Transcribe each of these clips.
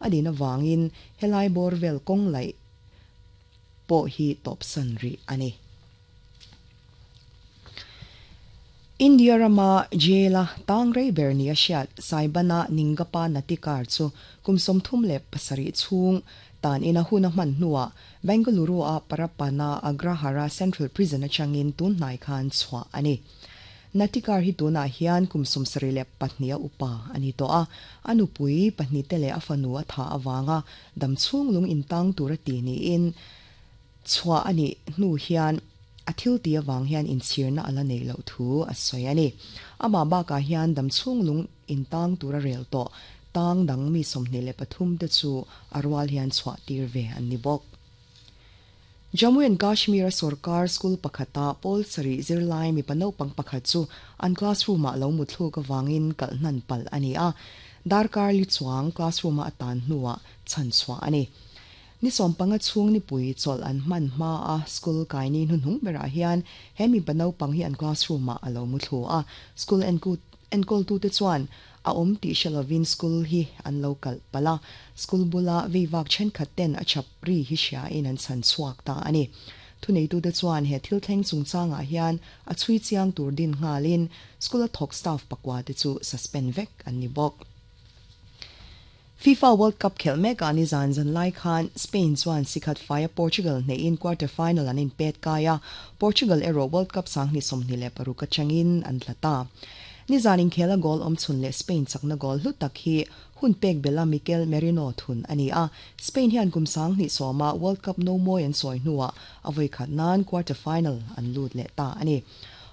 A din avangin helai bawr vel kawng laih pawh hi tawpsan rih a ni. India rama jail-a tang rei ber nia hriat Saibana Ningappa Natikar chu kum 37 chhung tan ina hun a hman hnuah Bengaluru-a Parappana Agrahara Central Prison atangin tun hnai khan chhuah a ni. Natikar hi tunah hian kum 74 a upa a ni tawh a, a nupui pahnihte leh a fanu a thah avanga dam chhung lung intang tur a ti niin chhuah a nih hnu hian a thil ti avang hian inchhirna a la neih loh thu a sawi a ni. Amah bakah hian dam chhung lung intang tur a rel tawh tang dang mi 23 te chu a rual hian chhuah tir ve an ni bawk. Jammu and Kashmir a sorkar school pakhata pawl sarih zirlai mipa naupang pakhat chu an classroom ah lo muthluk avangin kalh hnan palh a ni a, darkar li chuang classroom a a tan hnuah chhan chhuah a ni. Ni 15 chhung nipui chawlh an hman hma a school kaini hnuhnung berah hian he mipa naupang hi an classroom ah a lo muthlu a, school enkawltute chuan a awm tih hre lovin school hi an lo kalh palh a, school bula veivak thenkhat ten a chap ri hi hriain an chhan chhuak ta a ni. Thuneitute chuan he thil thleng chungchangah hian a chhui chiang tur din nghalin school a thawk staff pakua te chu suspend vek an ni bawk. FIFA World Cup khelh mekah ni zan zan lai khan Spain chuan sikhat faia Portugal hneihin quarter final an inpet kai a, Portugal erawh World Cup 2026 atangin an tla ta. Ni zan inkhel a goal awm chhun leh Spain chakna goal hlu tak hi hun pek bela Mikel Merino thun a ni a, Spain hian kum 2010 a World Cup no mawi an sawi hnuah a vawi khat nan quarter final an lut leh ta a ni.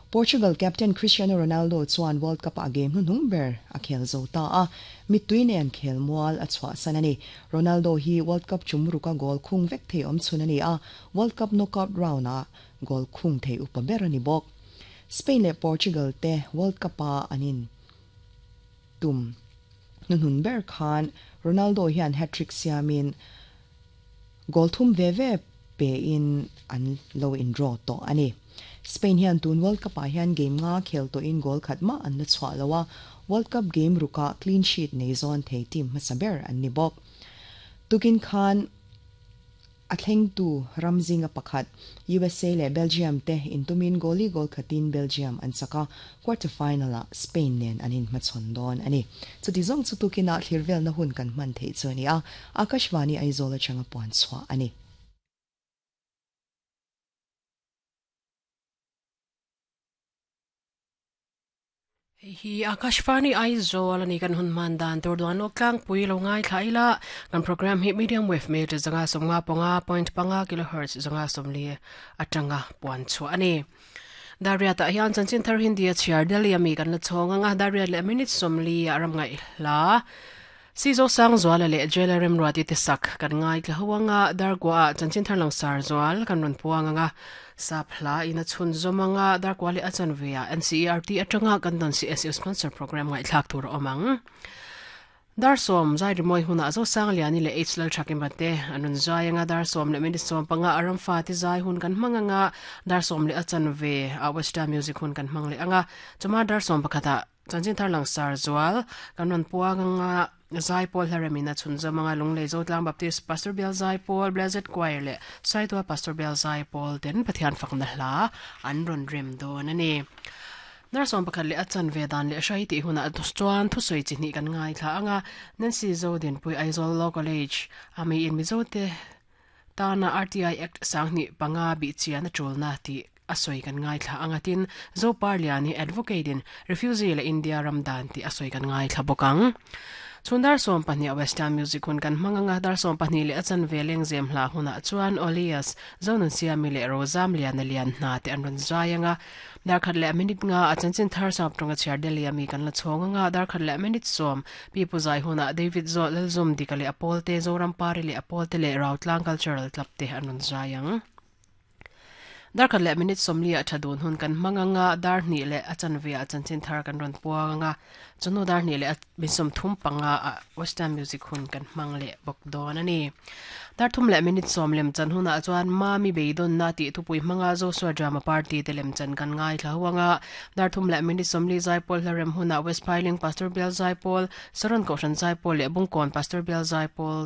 Portugal captain Cristiano Ronaldo chuan World Cup a game hnuhnung ber a khel zo ta a, mittui nen khel mual a chhuah san a ni. Ronaldo hi World Cup tum ruka goal khung vek thei awm chhun a ni a, World Cup knockout round a goal khung thei upa ber a ni bawk. Spain leh Portugal te World Cup a an in tum hnuhnun ber khan Ronaldo hian hat-trick siamin goal thum ve ve pe in an lo in draw tawh a ni. Spain hian tun World Cup ah hian game nga khel tawhin goal khat mah an la chhuah lo a, World Cup game ruka clean sheet nei zawn thei team hmasa ber an ni bawk. Tukin khan a thlengtu ram zinga pakhat USA leh Belgium te intumin goali goal khatin Belgium an chak a, quarter final ah Spain nen an inhmachhawn dawn a ni. Chuti zawng chu tukinah thlir velna hun kan hman theih chu a ni a, Akashvani Aizawl atanga puan chhuah a ni. Hi Akashvani Aizawl ani kan hun man dan tur duan lawk tlangpui lo ngai thla ila kan program hi medium wave meter 155.5 kilohertz 140 atanga puan chu ani. Daria ta hian chanchin thar Hindi a chhiar Delhi ami kan la chhawng anga Daria leh minute 40 a ram ngai hla Si zo sang zuala leh jailer remruati te sak kan ngai tla ho anga darkua ah chanchin thar lang sar zual kan rawn puang anga sap hla in a chhun zawm anga darkua leh a chanve ah NCERT atanga kan dawn CSU sponsor program ngaihthlak tur a awm ang. Dar sawm zai rimawi hunah zo sang liani leh H lal thakima te an rawn zai anga dar sawm leh minute 15 a ramfa te zai hun kan hmang anga dar sawm leh a chanve ah Western music hun kan hmang leh anga chuma dar sawm pakhatah Chanchin thar lang sar zual kan rawn puang anga zai pawl hlarem in a chhun zawm anga Lunglei Zotlang Baptist Pastor Bial Zai Pawl Blessed Choir leh Saitual Pastor Bial Zai Pawl ten Pathian fakna hla an rawn rem dawn a ni. Dar 11 leh a chanve dan leh hrai tih hunah chuan thusawi chi hnih kan ngaithla anga Nancy Zodinpui Aizawl Law College a mi in Mizo te tana RTI Act 2005 bih chian a tulna tih a sawi kan ngaithla anga tin Zopar Liani advocate in refugee leh India ram dan tih a sawi kan ngaithla bawk ang. Chhun dar 12 Western Music hun kan hmang anga dar 12 leh a chanve lengzem hla hunah chuan Olias Zonun Siami leh Rozam Liana Lian hna te an rawn zai anga dar khat leh minute nga a chanchin thar sap tawnga chhiar Delhi ami kan la chhawng anga dar khat leh minute 10 pi pu zai hunah David Zo Lalzum Dika leh Apawl te Zoram Pari leh Apawl te leh Rautlang Cultural Club te an rawn zai ang. Dar khat leh minute 40 ah tha dun hun kan hmang anga, dar hnih leh a chanve ah chanchin thar kan rawn puang anga, chunu dar hnih leh a min 35 ah western music hun kan hmang leh bawk dawn a ni. Dar thum leh minute 10 lem chan hunah chuan Mami Beidawnna tih thupui hmanga Joshua Drama Party te lem chan kan ngaithla ho anga, dar thum leh minute 40 Zaipawl hla rem hunah West Phailing Pastor Bial Zaipawl, Saron Kohhran Zaipawl leh Bungkawn Pastor Bial Zaipawl.